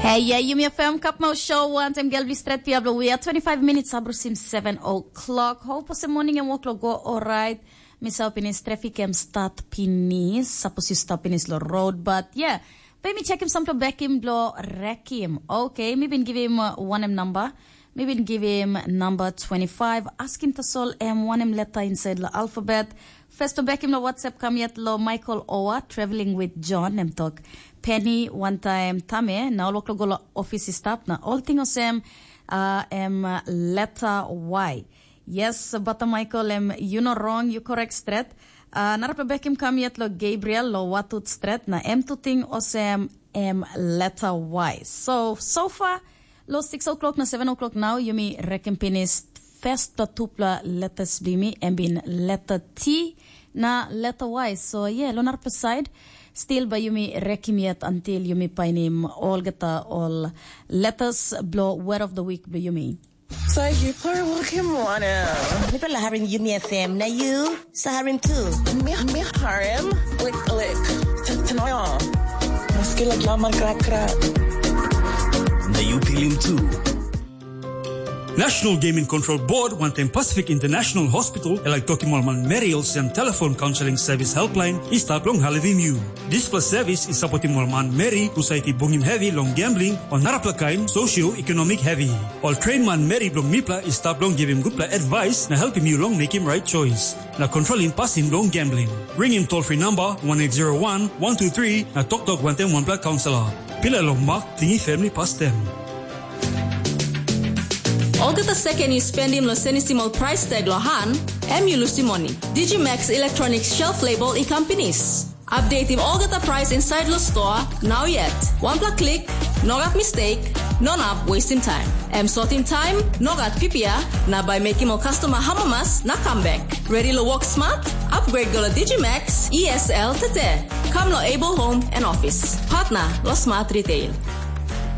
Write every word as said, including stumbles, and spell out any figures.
Hey, yeah, Yumi F M Kapmau Show, wantaim gel bli stret pia blo wia, twenty-five minutes abrusim seven o'clock. Hope ose morning em wok lo go alright. Mi sau pinis traffic em start pinis, sapos yu stop pinis lo road, but yeah. Pe mi chekim sampla bekim blo rekim. Okay, mi bin givim uh, wanem number. Mi bin givim number twenty-five. Askim tasol em wanem leta inside lo alphabet. First bekim lo WhatsApp kam yet lo Michael Owa, traveling with John, em tok. Penny, one time Tame, na ol wok lo go lo office stop, na ol ting osem, uh, em uh, letter Y. Yes, Bata Michael, em you no wrong, you correct stret. Uh, narapla bekim kam yet lo Gabriel, lo watut stret, na em tu ting osem em letter Y. So, so far, lo six o'clock na seven o'clock now, yumi rekim pinis first tupla letters bimi, em bin letter T na letter Y. So, yeah, lo narapla side, still ba yumi rekim yet until yumi painim olgeta ol letters blo word of the week blo yumi. Sahi paro kim wanam. Mipela harim Yumi F M, na yu sa harim tu. Mi, mi harim, klik, klik. Tanoyo. Maski lagi lamar krak-krak. Na yu pilim tu. National Gaming Control Board wantaim Pacific International Hospital e laik tokim ol manmeri olsem telefon kaunseling sevis helpline i stap long helpim yu. Dispela sevis i sapotim ol manmeri husat i bungim hevi long gambling o narapela kain sosioekonomik hevi. Ol tren manmeri bilong mipela i stap long givim gutpela advice na helpim yu long mekim right choice na kontrolim pasin bilong gambling. Ringim toll free number one eight zero one one two three na toktok wantaim wanpela kaunselor. Pila long mak tingi family pastem. Olgeta seken yu spendim long senisim ol price tag long han, em yu lusim moni. Digimax Electronics Shelf Label i kam pinis. Updatim olgeta price inside lo store, now yet. Wanpela klik, no gat mistake, no nap wasting time. Em sotim time, no gat pipia, na bai mekim ol customer hamamas na comeback. Ready lo work smart? Upgrade go lo Digimax E S L tete. Come lo Able Home and Office. Partner lo Smart Retail.